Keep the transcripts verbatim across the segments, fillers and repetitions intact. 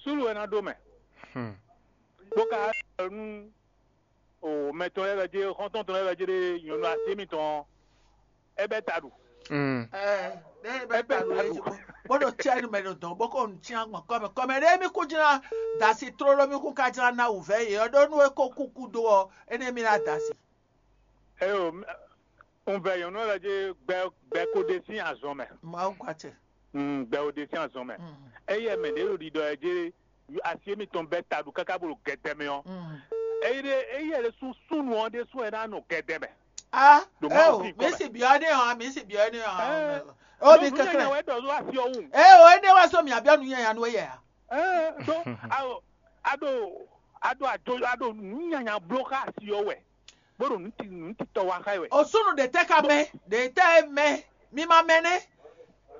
Súnnu wɛ ná ɖó mɛ. Hmm. Bó ka ɖɔ nú o mɛ tɔn lɛ́ɛ wɛ jɛ xɔ́ntɔn tɔn lɛ́ɛ wɛ jɛ ɖe nyɔ̌nu así émítɔn ɔ́, é bɛ́ ta ɖu. Mm. Ɛ ɖe bɛ ta ɖo esi bó bó ɖo tiɛ nu mɛ ɖo dɔn bó ko nu tiɛ gbɔn kɔmɛ kɔmɛ ɖe mi kú jina dasi tlóló mi kú ka jina na wǔvɛ yě ɔ́ ɖó nú é ko kúkú dó ɔ́ énɛ́ mi ná dasi. Eyo, un vɛ nyɔ̌nu lɛ́ɛ jí gbɛ gbɛ ko ɖe sín azɔn mɛ. Mawu gba tɛ. Mm, gbɛ ko ɖe sín azɔn mɛ. Mm. Eye mɛ ɖě ɖo ɖiɖɔ ɛ jí asi émítɔn bɛ́ ta ɖu káká bó ɖo gɛdɛ mɛ ɔ́. Mm. Eye ɖe eye ɖe sú súnnu ɔ́ ɖésú ɛ ná nɔ gɛdɛ mɛ. Ah, Ɖo Mawu eo, sín kɔ mi mɛ. Si biɔ ne ɔ́, mi si biɔ ne ɔ́. Ɛ, O mi Ɖo kɛkɛ. Nǔnyanya wɛ ɖɔ ɖó asi ɔ́ wú. Eo, ene wa so mi abiɔ nu nyanya nu eye a. Ɛ, ɖó a ɖo a ɖo a ɖo a ɖo nǔnyanya bló xá asi ɔ́ wɛ. Bó ɖo nǔ ti nǔ titɔ wa xá ɛ wɛ. O súnnu ɖe tɛ ka mɛ, ɖe tɛ mɛ, mi ma mɛ nɛ.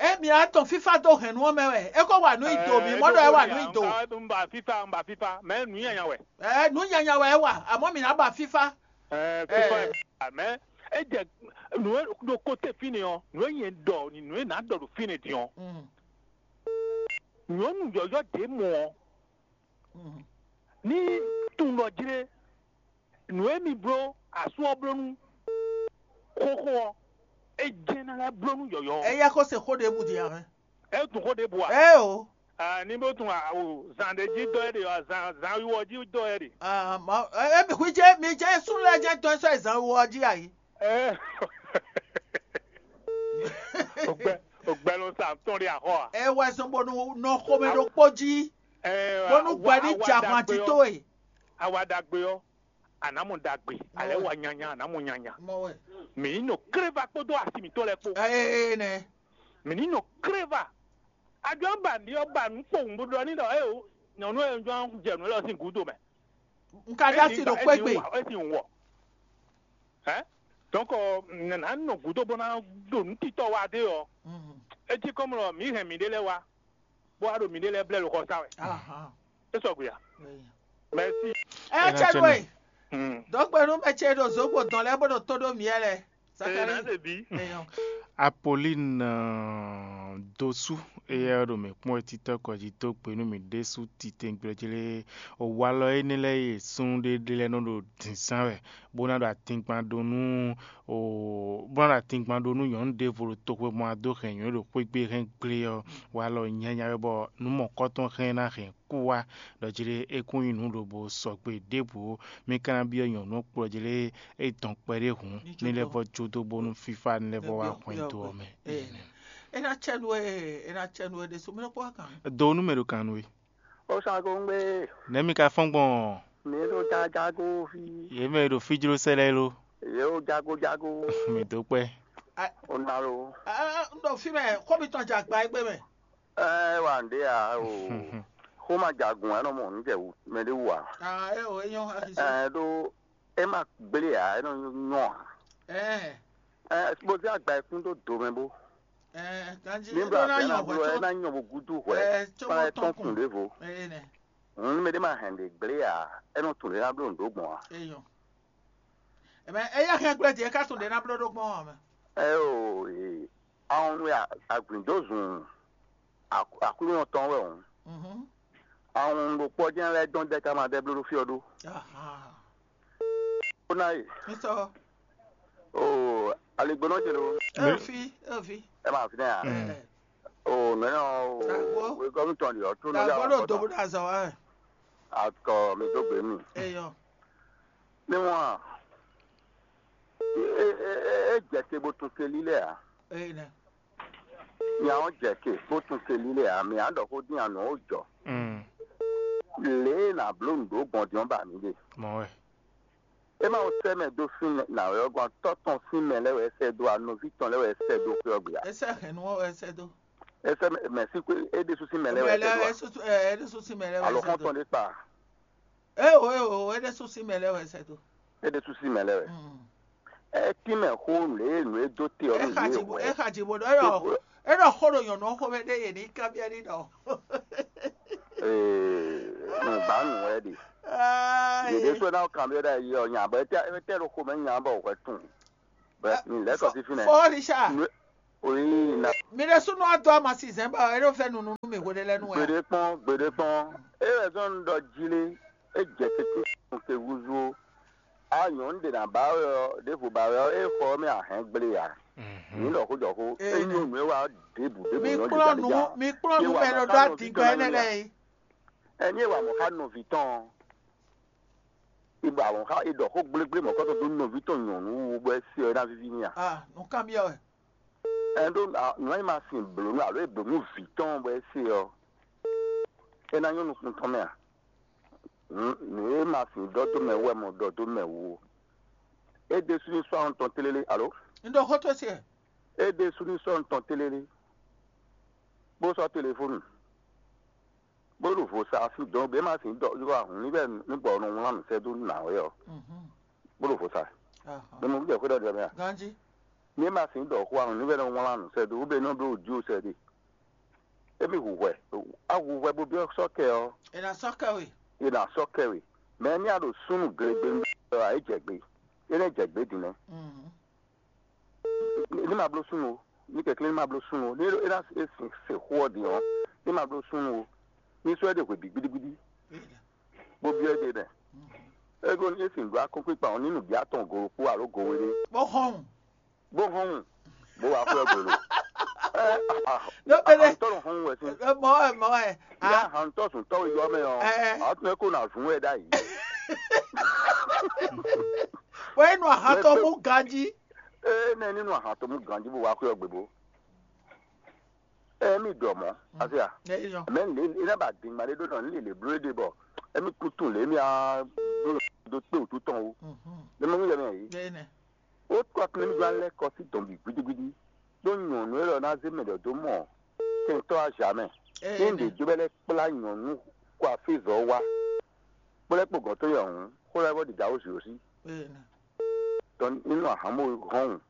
E mi a tɔn fífá dó hɛn nú ɔ́ mɛ wɛ. E ko wa nǔ yi do, mi mɔ ɖɔ e wa nǔ yi do. Un ba fífá, un ba fífá, mɛ nǔnyanya wɛ. Ɛ nǔnyanya wɛ e wa, amɔ mi na ba fífá. Ɛ fífá Ɛ. Mɛ e jɛ nǔ e ɖo kóté fínɛ́ ɔ́, nǔ e nyɛ ɖɔ ni nǔ e nǎ ɖɔ ɖo fínɛ́ din ɔ́, Mm, nyɔ̌nu yɔ̌yɔ́ ɖě mɔ ɔ́, mm. Ní tunwun ɖɔ jlé nǔ e mi bló asú ɔ́ bló nú xóxó ɔ́, é jɛ́n ná lɛ́ bló nú yɔ̌yɔ́ ɔ́. Eya ko se xó ɖěbǔ din ǎ mɛ. É tunwun xó ɖěbǔ a? Ée o. Ah, ní bó tunwun awu zan ɖé jí dɔ é ɖe ɔ́, zan zan wiwɔ jí dɔ é ɖe. Ah, ma, e mi xwí jɛ mi jɛ súnnu lɛ́ɛ jɛ tɔn sɔ zan wiwɔ jí ayi. Ɛ ogbɛ ogbɛ ló sa tɔn ɖe axɔ a? Ɛ wɛ zɔn bɔnu nɔ xomɛ ɖokpó jí. Ɛ bɔnu awa- gbɛ ní awa jà hwan dagbe jí ɔ́, tó e. Awa ɖagbe ɔ́, anǎ mɔ ɖagbe, alɛ wɛ. Wa nyanya, anǎ mɔ nyanya. Mɔ wɛ. Mǐ ní nɔ kléva kpódó asi mǐtɔn lɛ́ɛ kpó. Ee nɛ. Mǐ ní nɔ kléva. Ajɔ ba ní ɔ́ ba nǔ kpowun bó ɖɔ ní ɖɔ é o, nyɔ̌nu e jɔ jɛ nǔ élɔ́ sín gǔdo mɛ. N ka dá si ɖo kpékpé. É sì ń wɔ. Hɛn? Donc nana nɔ gǔdo bó ná ɖo nǔ titɔ wa dé ɔ́. Mhm. É cí kɔmlɔ mǐ hɛn mǐɖée lɛ́ɛ wá, bó wá ɖo mǐɖée lɛ́ɛ blɛ́ ɖo xɔ sá wɛ. Ahan. É sɔgbe a? Eya. Merci. Ɛ Ena cɛ tse nú nɔ. Ɛ. Hmm. Dɔ̌gbɛ́númɛ ce ɖo zǒgbó dɔn lɛ́ɛ bó ɖo tó ɖó mǐ lɛ́ɛ. Ee, Zakalíi. Nǎ ɖe bǐ. Eyɔn. Apolin dosu eya ɖo mǐ kpɔ́n etitɔ kɔ jí dó gbe nú mǐ ɖésú titewungbe jí lé. Walɔ énɛ́ lɛ́ɛ e súnnu ɖé ɖé lɛ́ɛ nɔ ɖo dǐnzán wɛ, bó ná ɖo atingban ɖó nú o bó ná ɖo atingban ɖó nú nyɔ̌nu ɖěvo ɖo toxwe mɔ adó hɛn nyɔ̌nu ɖo xwé gbe hɛn gblé ɔ́, walɔ nyanya wɛ bɔ nǔ mɔ̌kɔtɔn hɛn ná hɛn kú wá ɖɔ jí lé é kún nyí nǔ lobo sɔgbe ɖěbǔ ó. Mi ka ná byɔ́ nyɔ̌nu ɔ́ kplɔ́ jí lé é dɔn kpɛɖé hǔn ní lɛ́ vɔ jó dó bónú fífá ní lɛ́ vɔ wá hwɛndo ɔ́ mɛ. Ena cɛnu e ena cɛnu e ɖe so mi lɔ kpɔ kan. Do nú mɛ ɖo kan nú we. Ó sá kó ń gbé. Nɛ̌ mi ka fɔ́n gbɔn? Mi ɖo jágágó fi. Yě mɛ ɖo fíjló sɛ́ lɛ́ɛ ló. Yě ó jágójágó. Mi dó kpɛ́. Ó ná ló. N ɖo fi mɛ xó mi tɔn jɛ agba egbe mɛ. Ɛ wà ń ɖe à o. Xó ma jagun ɛ nɔ mɔ ń jɛ wú mɛ ɖé wú à. Ah, ɛ o, eyɔn axisɔ. Ɛ ɖó é ma gblé à é nɔ nyɔ à. Ɛ Ɛ bó zé agba ɛ kún dó do mɛ bó. Ɛ ganji é Nígbà nɔ tí ná ɛ ná yàn bló ɛ hwɛ ná nyɔ bó gúdú hwɛ. Ɛ Fana ɛ tɔn tɔn kùn kùn. Ɖěvo. Ɛ nɛ. Hǔn mɛ ɖé ma hɛn ɖě gblé à é nɔ tún ɖě ná bló nǔ dó gbɔn à. Eyɔn. Ɛmɛ eya hɛn gblé jɛ ká tún ɖě ná bló ɖó gbɔn ɔmɛ. Ɛ o ee àwọn nú agbǐndózùn Aklúnɔ tɔn wɛ hǔn. Mhm. Àwọn ɖokpɔ́ jɛ́n lɛ́ɛ dɔn dɛ́ ká ma dɛ́ bló ɖó fí ɔ́ ɖó. Aha. Ó ná yè. Nsɔ. Oo aligbónɔ ce ló. Efi efi. Ẹ máa fi náà. Mm. Ẹ Oo nɛnɛ o Dàgbọ́. Wegɔnu tɔn de ɔtún ní Dàgbọ́ yàrá ló kọta. Dòbò dà zọ ẹ. Akɔ mi tó gbé mi. Eyọ. Níwọ̀n à. E e e e jẹ te bó tún ke lílẹ̀ à. Eyọ nẹ. Ní àwọn jẹ ke bó tún ke lílẹ̀ à mi à ń dọ̀ kó dín àná ó jọ. Mm. Lě nà bló nǔ dó gbɔn dín ɔ́ bà mí de. Mɔ wɛ. E ma wo sɛ mɛ dó fínɛ́ nǎ wɛ ɔ́ gɔ́n tɔ́ tɔn sín mɛ lɛ́ɛ wɛ é sɛ́ dó a nɔví tɔn lɛ́ɛ wɛ é sɛ́ dó xwé ɔ́ gbe a? É sɛ́ hɛn nú ɔ́ wɛ é sɛ́ dó. É sɛ́ mɛ mɛ sí xwé é ɖésú sín mɛ lɛ́ɛ wɛ é sɛ́ dó a? É sú ɛ é ɖésú sín mɛ lɛ́ɛ wɛ é Alo sɛ́ xɔ́n dó. Tɔn ɖé kpa? É o é o é ɖésú sín mɛ lɛ́ɛ wɛ é sɛ́ dó. É ɖésú sín mɛ lɛ́ɛ wɛ. Mm. É tín mɛ xó lě e nǔ e dó te ɔ́ É nú xa yě jǐ bó é wɛ. Xa jǐ bó ɖɔ é ɖɔ é ɖɔ xó ɖo nyɔ̌nu ɔ́ xomɛ ɖé yě ní kanbyɔ́ ní ɖɔ. Ee, nǔgbánú wɛ ɖe. Yěɖé sɔ́ ná kanbyɔ́ ɖa yi ɔ́ nya bɔ étɛ́ étɛ́ ɖo xomɛ nya bɔ hwɛ tún. Bɛ mi lɛ kɔ sí fínɛ́. Fɔ Richard. Oyi. Mi ɖésúnɔ wá dó ama sizɛn bɔ é ɖo fɛ nunu nú mì hweɖé lɛ́ɛ nu wɛ. Gbeɖé kpɔ́n, gbeɖé kpɔ́n. É wɛ zɔ́n un ɖɔ jí lé, é jɛ tɛ́ntin sun te húzú ó. A nyɔ̌nu ɖě ná ba wɛ ɔ́, ɖěvo ba wɛ ɔ́, é xɔ ɔ́ mɛ a hɛn gblé ǎ. Mǐ ɖɔ xó jɔ xó. É nyɔ́ nǔ e wa ɔ́ ɖěbǔ ɖěbǔ. Mi nyɔ́ kplɔ́n nǔ, mi kplɔ́n nǔ mɛ ɖo dó adingɔ énɛ́ lɛ́ɛ é. Ɛni e wa mɔ̌ xá nɔví tɔn ɔ́, è ɖɔ àwọn xá è ɖɔ xó gblégblé mɔ̌kɔ́tɔn dó nɔví tɔn nyɔ̌nu wú bɔ é se ɔ́ é ná víví n'i a? Ah, nǔ kanbyɔ́ wɛ. Ɛn ɖó nǔ e ma sin blǒ nú alo é blǒ nú vǐ tɔn bɔ é se ɔ́, é ná nyɔ́ nukún tɔn mɛ a? Nǔ e ma sin ɖɔ dó mɛ wú wɛ mɔ ɖɔ dó mɛ wú ó. É ɖésú ní sɔ́ tɔn tlélé alo? Un ɖo xó towe se. É ɖésú ní sɔ́ tɔn tlélé, bó sɔ́ telefónu, bó ɖo vo sa sín dɔn bɛ́ ma sin ɖɔ yɔ ahun ní bɛ ní bɔ nɔ wlán nǔ sɛ́ dó nǎ wɛ ɔ́, bó ɖo vo sa. Mɛ mɔ bí jɛ xwé ɖɔ jɛ mɛ a? Ganji. Ní ma sin ɖɔ xó ahun ní bɛ nɔ wlán nǔ sɛ́ dó wú bɛ nɔ ɖó ojú sɛ́ ɖe. Émi hu hwɛ, a hu hwɛ bó byɔ́ sɔ́ kɛ ɔ́, Ena sɔ́ kɛ we. È nǎ sɔ́ kɛ we. Mɛ ní a ɖo súnnu glegbe ɔ́, a é jɛ gbe. É nɛ́ jɛ gbe din nɛ́. Mhm. Ní ma bló súnnu o, ní kɛnklɛ́n ní ma bló súnnu o, ní é ná se xó ɔ́ din ɔ́, ní ma bló súnnu o, ní sɔ́ ɛ ɖe hwe bǐ gbídígbídí, bó byɔ́ ɛ ɖe nɛ. Ego ní é sin ɖó akɔ́nkpíkpa ɔ́, ní nǔbí atɔn go ɖokpó alo go wéɖé, Bó hɔn. Bó hɔn wun, bó wá xwé ɔ́ gbe lo. Ɛ, a, a, Ló pélé. Ahantɔ nɔ hɔn wun wɛ sín. Ɛ, mɔ wɛ, mɔ wɛ. Ní Ah. Ahantɔ sùn tɔ́ yɔ mɛ ɔ́, Ɛ. A tún ɛ kó na zun wɛ ɖ'ayǐ. Wɛ é nɔ ahantɔ mú ganjí. Ee, nɛ ní nɔ ahantɔ mú ganjí bó wá xwé ɔ́ gbe bó. Ɛ mi ɖɔ mɔ̌, afi a? Ɛ yɔ. Mɛ lě iná ba dingba ɖé ɖó nɔ ní lě bló ɖé bɔ. Ɛ mi kú tún lě mi a ɖó ɖó kpé wútu tɔn wú. Mhm. Lě mɔ mi yɛ mɛ yìí. Ɛ nɛ. Ó kɔ kplé mi gba lɛ́ kɔ sí dɔn bǐ gbídígbídí. Ɖó nyɔ̌nu élɔ́ ná zé mɛ ɖɔ dó mɔ kɛntɔ́ azǎ mɛ. Ní Ɛ ɖě nɛ. Jó bɛ lɛ́ kplá nyɔ̌nu kɔ afízɔ wá. Kplɔ́ kpo gɔ̌n tó yɛ hǔn, xó lɛ́ɛ bɔ ɖi gǎ ó zǐ ó sí. Ɛ nɛ. Tɔ ní nɔ ahǎn bó hɔn wun.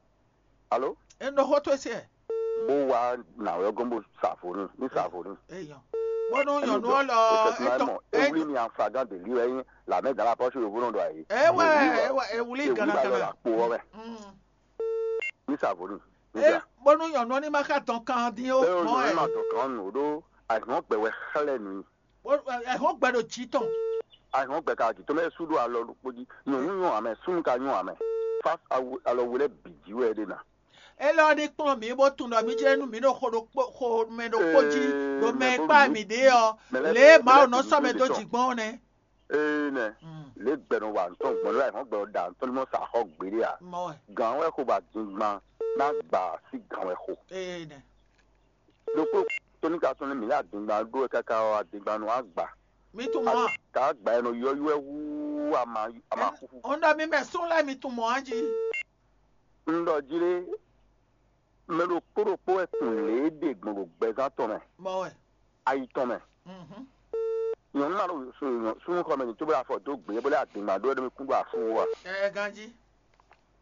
Alo? É nɔ xó tó se. Bó wá nǎ wɛ gɔ́n bó sa vo n'i, ní sa vo n'i. Eyɔn. Bónú nyɔ̌nu ɔ́ lɔ é tɔ mɔ é ewúlí ni aflagán de lí wɛ nyí lǎmɛ gǎn la pɔ́sí yovó nɔ ɖɔ ayé. É wɛ é wɛ é wúlí gǎn gǎn. Kpo ɔ́ mɛ. Mm. Ní sa vo n'i. Ní É sa. Bónú nyɔ̌nu ɔ́ ní ma xa dɔn kan dín ó. É o Mɔ nyɔ̌nu ɛ. Ma dɔn kan nǔ ɖó àìsàn gbɛ wɛ xlɛ́ nǔ. Bó- ɛ- Ɛhɔn gbɛ ɖo jǐ tɔn. Àìsàn gbɛ ka jǐ tɔn mɛ sú ɖó alɔ ɖokpó jí. Nyɔ̌nu nyɔ amɛ, súnnu ka nyɔ amɛ. Fá awu- alɔ we lɛ́ bǐ jí wɛ é ɖe ná. Élɔ́ ní kplɔ́n mǐ bó tunwun ɖɔ mí jlɛ́ nú mǐ ɖo xo ɖokpó xo mɛ ɖokpó jí Ee, ɖo mɛ mɛ e bó kpá mǐ- mǐ ɖe ɔ́. Mɛ lɛ́ɛ- Lě e mɛ Mawu mɛ lɛ́ɛ nɔ sɔ́ mɛ dó jǐ gbɔn ɔ́ nɛ́. Ee nɛ. Mm. Lě gbɛ nɔ wa ŋutɔn gbɔn lé àìsàn gbɛ ɔ da ŋutɔn ní mɔ sa xɔ gbeɖé a. Mɔ wɛ. Gǎn wɛ xo ba dingban ná gbà sí gǎn wɛ xo. Ee nɛ. Ɖokpó tóníkatɔn ní mǐ yá adingban ɖó wɛ káká ɔ́, adingban nɔ wá gbà. Mi tunwun mɔ a? Ká gbà ɛ nɔ yɔ́yɔ́ ɛ wú ama ama xúxú. Ó ń dɔ mí mɛ sún lɛ́ mi tunwun mɔ a jí. Un ɖɔ jí lé, mɛ ɖokpó ɖokpó wɛ tunwun lě e ɖe gbɔn ɖo gbɛzán tɔn mɛ, Mɔ wɛ. Ayi tɔn mɛ. Mhm. Nyɔ̌nu ma ɖo súnnu xɔ mɛ ní tó bó afɔ dó gbě bó lɛ́ adingban ɖó ɛ ɖo mi kún ɖo afú wú a. Ɛ ganjí.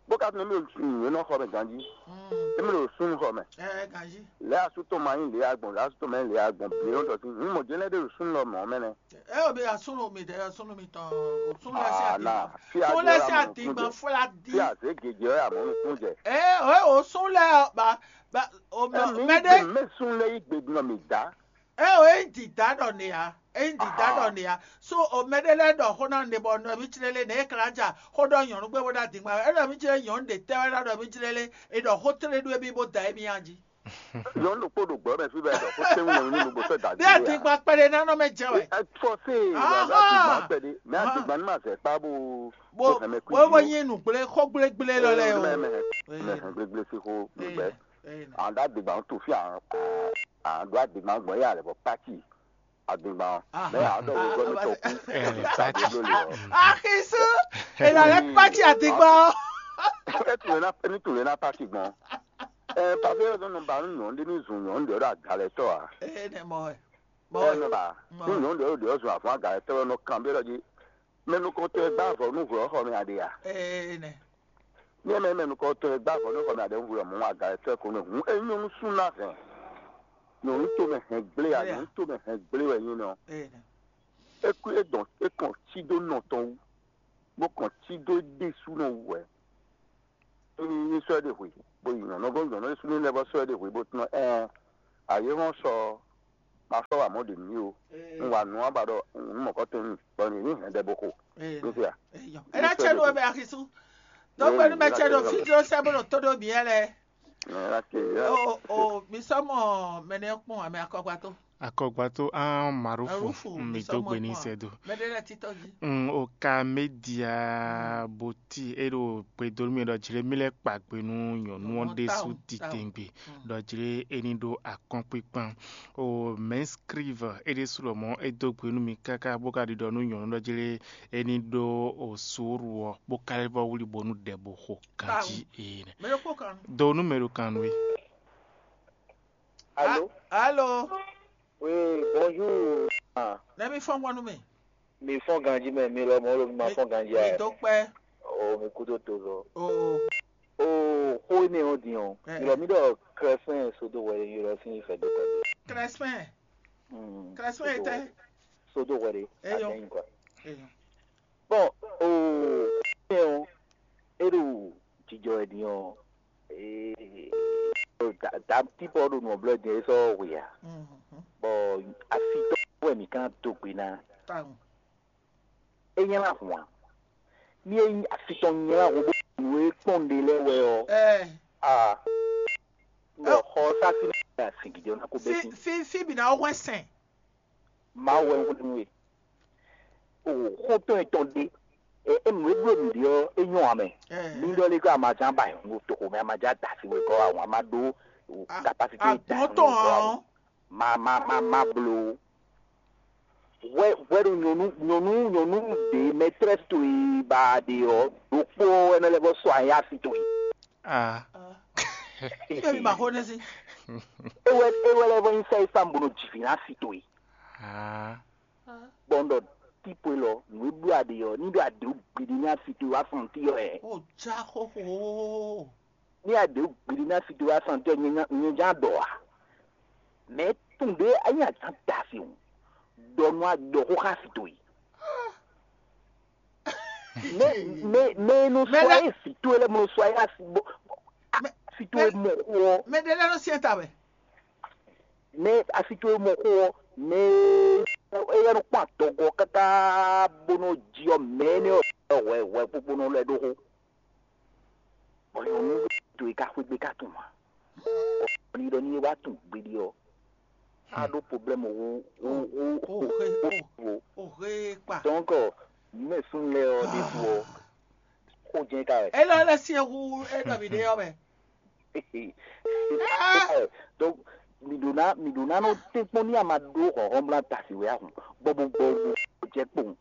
Bó ka tunwun mí ɖo nǔnywɛ́nɔ xɔ mɛ ganjí. Mm. Émi ɖo súnnu xɔ mɛ. Ɛ ganjí. Lɛ́ asú tɔn ma nyí lě agbɔn, lɛ́ asú tɔn ma nyí lě agbɔn. Bí wọ́n tɔ sí. Hǔn mɔ̌ jɛ́n lɛ́ ɖe ɖo súnnu lɔ mɔ̌ mɛ nɛ́. Ɛ o bí asúnnu mi ɖe súnnu mi tɔn o súnnu lɛ sí Ah, àdìgbà. na, fí a Súnnu lɛ jẹ́ sí àmọ́ àdìgbà nukún jẹ. Fúlá dí. Fí a zě gègé ɔ́ yà mɔ̌ nukún jẹ. Ɛ o ɛ o sún lɛ ɔ ba ba o mɛ Ɛ mi mɛ ɖé. Mɛ sún lɛ yí gbedun ɔ mi dá. Ɛ o e ń dìdá ɖɔ nìyá. E ń dìdá Aha. Ɖɔ nìyá. So o mɛ ɖé lɛ ɖɔ xó ná ne bɔ nɔ mi jlé lé ne e kla ja xó ɖɔ nyɔ̌nu gbé bó ɖo adìgbà. Ɛ ɖɔ mi jlé nyɔ̌nu ɖe tɛ́ wɛ ɖɔ mi jlé lé. E ɖɔ xó tlé ɖu emi bó da emi ya jí. Nyɔnu ɖokpó ɖo gbɔ mɛ fí bɛ ɖɔ xó tɛngu nyɔnu ní nugbo sɔ da Bí di wɛ. Àdìgbà kpɛɖé nánɔ mɛ jẹ wɛ. Ɛ fɔ se Aha. Wà bá àdìgbà kpɛɖé mɛ Aha. Àdìgbà ní ma zɛ kpá bó Bó bó hɛn mɛ kú bó bó yí. Yín nù gblé xó gblégblé lɔ lɛ o. Mɛ mɛ Ee. Mɛ hɛn gbégbé sí xó Ee. Gbɛ. Ee. Àwọn dá àdìgbà ń tò fí àwọn àwọn dó àdìgbà ń gbọ̀n yà lẹ̀ bọ̀ pátì àdìgbà wọn. Aha. Mɛ àwọn dọ̀ wò gbọ́ mi tọ̀ kú. Ẹ pátì. Àdìgbò lè ọ̀. Àkísú. Ìlànà pátì àdìgbà. Ẹ tún lè ná ẹ tún lè ná pátì gbọ́n. Ẹ pàṣẹ yóò tún nù bá nù yàn ń dé ní zùn yàn ń dé ọ̀dọ̀ àgàlẹ̀ tọ̀ à. Ee nɛ mɔ ɛ. Mɔ Ẹ ɛ. Nù bá Mɔ. Nù yàn ń dé ọ̀dọ̀ zùn àfọ̀n àgàlẹ̀ tọ̀ ẹ̀ nù kàn bí ẹ̀ lọ́jì. Mɛ nukɔntɔn e gbá avɔ nú hwɛ ɔ́ xɔ mɛ a ɖe a? Ee nɛ. Ní ɛ mɛ mɛ nukɔntɔn e gbá avɔ nú xɔ mɛ a ɖe hwɛ ɔ́ mɔ aga ɛ tɔ́ ɛ ko nú hǔn é nyɔ́ nú sú ná hɛn. Nyɔ̌nu tomɛ hɛn gblé a, Gblé a. Nyɔ̌nu tomɛ hɛn gblé wɛ nyí nɔ. Ee nɛ. É kú é dɔn é kɔn cí dó nɔ tɔn wú, bó kɔn cí dó é ɖésúnɔ wú wɛ. ní sɔ́ ɛ ɖe hwe, bó yi nyɔ̌nu gɔ́n nyɔ̌nu súnnu lɛ́ɛ vɔ sɔ́ ɛ ɖe hwe bó tunɔ ɛɛ ayé hɔn sɔ ma sɔ́ wa mɔ̌ ɖe nú mì o. Un wa nǔ aba ɖɔ nǔ mɔ̌kɔtɔn nyi bɔ nyi ní hɛn ɖɛ bó xo. Ní fia. Ena cɛ nu ebe axisu. Dɔgbe nu mɛ cɛ ɖo fi dro sɛ bó ɖo tó ɖo miɛ lɛ. O o mi sɔ mɔ mɛnɛ kpɔn ame akɔgba tó. Akɔgba tó an marufu mi dó gbe ní sɛ do. Mɛ ɖe lɛ titɔ jí. Un o ka média boti e ɖo gbedo mi ɖɔ jlé mi lɛ kpa gbe nú nyɔnu ɔ ɖésú titengbe ɖɔ jlé e ní ɖó akɔ́nkpikpan. O mɛnscrive e ɖésú lɔ mɔ e dó gbe nú mi káká bó ka ɖiɖɔ nú nyɔnu ɖɔ jlé e ní ɖó o suuru ɔ bó ka lɛ́ vɔ wlí bónú ɖɛ bó xo ganjí ene. Mɛ ɖokpó kan. Do nú mɛ ɖo kan nú e. Alo. Alo. Oui, bonjour. Ah, Nɛ mi fɔn gbɔn nú mi. Mi fɔn ganji mɛ, mi lɔ mɔ lo mi ma fɔn ganji Mi a. do kpɛ. Oh, mi kudo to zɔ. O Oh, xo ne o din o. Eh. Mi lɔ mi dɔ Crespin sodo wɛ mi lɔ sin fɛ do kɔ. Crespin. Hmm. Crespin etɛ. Sodo wɛ de. Eh, yo. Aden quoi. Eyo. Bon, oh, ne o. E ɖo jijɔ wɛ din o. Eh, ta ta tipo ɖo nɔ blɔ din e sɔ wia. Mhm. Bon, afi tɔ wɛ mi kan do gbe na. Taun. E nyla hwan. Mi e afi tɔ nyla hwan bo nú e kpɔn ɖe lɛ wɛ o. Ɛ Ah. Bon, xɔ sa fi na sin gidi na ko bɛ fi sin. fi fi bi na o hwɛ sɛn. Ma wɛ ŋu nú e. O xɔtɔn etɔn ɖe. E e nú e bló mi ɖe ɔ e nyɔ amɛ. Ɛ. Mi ɖɔ lé ko amadzan ba yɔn ŋu to ko mɛ amadzan da si wɛ kɔ àwọn ama ɖó o Ah, capacité da Agbɔn tɔn hàn. Ma ma ma ma blo. Wɛ wɛ ɖo nyɔnu nyɔnu nyɔnu ɖe maîtresse to yi ba ɖe ɔ ɖokpó ɛnɛ lɛ bɔ sɔ aya si to yi. Ah. Ibe mi ma xo ne si. Ewɛ ewɛ lɛ bɔ nyi sɛ ifam bo no jivi na si to yi. Ah. Bɔn ɖɔ tipo lɔ nu e ɖo aɖe ɔ ni ɖo aɖe gbidi na si to yi wa fɔn ti yɔ ɛ. O ja xoxo. Ní a ɖě gbili ná fi do wá sàn tɛ nyɛ nyɛ já ɖɔ a. Mɛ tún ɖé a nyɛ a já da fi o. Ɖɔ nú a ɖɔ xó xá fi do yi. Mɛ mɛ mɛ nu sɔ ayé fi to lɛ mo sɔ ayé asi bo fi to mɔ xó ɔ. Mɛ ɖe lɛ nɔ siɛ ta wɛ. Mɛ asi to mɔ xó ɔ mɛ eyɛ nɔ kpɔn atɔgɔ kaka bó nɔ ji ɔ mɛ ne ɔ hwɛ hwɛ kpokpo nɔ lɛ ɖó xó. Bɔn yɔ nu to yi ka xwé gbé ka tún ma. Ɔ ni ɖɔ ni e wá tún gbéɖé ɔ. A ɖó problème wo wo wo O xe wo o wo. O xe kpa. Donc ɔ mɛ sun lɛ ɔ ɖe fu ɔ xó jɛ ka wɛ. Elɔ lɛ siɛ hu e nɔ mi ɖe yɔ mɛ. Donc mi ɖo na mi ɖo na nɔ tɛnkpɔn ní a ma ɖó xɔxɔ mla tasi wɛ ahun gbɔgbɔ gbɔgbɔ jɛ kpɔn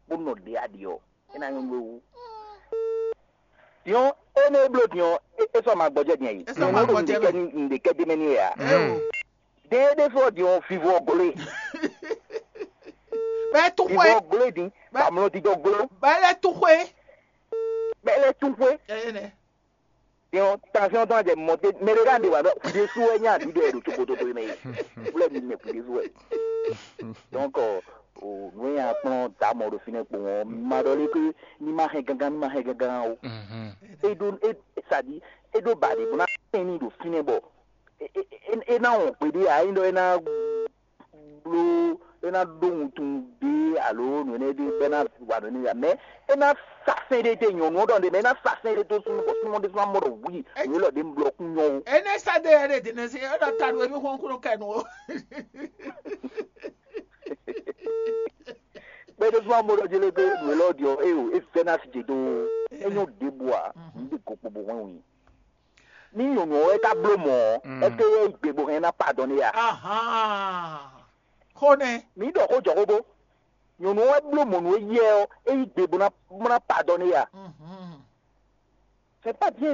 bó nɔ ɖe aɖi ɔ e na nyɔnu ewu. Diɔn e ne e bló diɔn e sɔ ma gbɔjɛ diɛ yi. E sɔ ma gbɔjɛ mɛ. N ɖe kɛ di mɛ ni ya. Ewo. De e ɖe fɔ diɔn fivɔ glo e. Bɛ tu Fivɔ xwe. Glo e din. Bamlɔ didɔ glo. Bɛ lɛ tu xwe. Bɛ lɛ tún xwe. Eye nɛ. Yɔn tansiɔn tɔn jɛ mɔ te mɛ ɖe ɖe wa ɖɔ kuɖe su wɛ nya ɖi ɖɔ ɖo tsokoto to mɛ yi. Wlɛ mi mɛ kuɖe su wɛ. Donc o nu ya kplɔn ta mɔ ɖo finɛ kpɔn ɔ ma ɖɔ lé ke ni ma hɛn gangan ni ma hɛn gangan o. E ɖo e sadi e ɖo ba ɖe bó na tɛn ni ɖo finɛ bɔ e e e e na wɔn gbeɖe a e ɖɔ e na blo e na ɖó wuntun ɖe alo nǔ énɛ́ ɖe bɔ e na wa nǔ énɛ́ ya mɛ e na sa sɛn ɖe te nyɔnu ɔ́ ɖɔ ɖe mɛ e na sa sɛn ɖe to súnmọ́ bɔ súnmọ́ ɖe súnmọ́ mɔ ɖɔ wuli nǔ élɔ́ ɖe un blɔ kún nyɔ o. Ene sa de yɛ de dine si e ɖɔ ta ɖo emi xɔn kúrò kɛ nu o. Kpɛɖe súnmọ́ mɔ ɖɔ jele ke nǔ élɔ́ ɖiɔ e o e vɛ na si dze do e nyɔ ɖe bua n ɖe gokpo bo hɔn wi. Ní nyɔnu ɔ́ wɛ ka bló mɔ̌ ɔ́, ɛseke é yí gbe bó hɛn ná padɔn n'i a? Ahan. Xo nɛ. Mǐ ɖɔ xó jɔ xó bó. Nyɔnu ɔ́ wɛ bló mɔ̌ nú éyɛ́ ɔ́, é yí gbe bó ná bó ná padɔn n'i a? Mhm. C'est pas bien.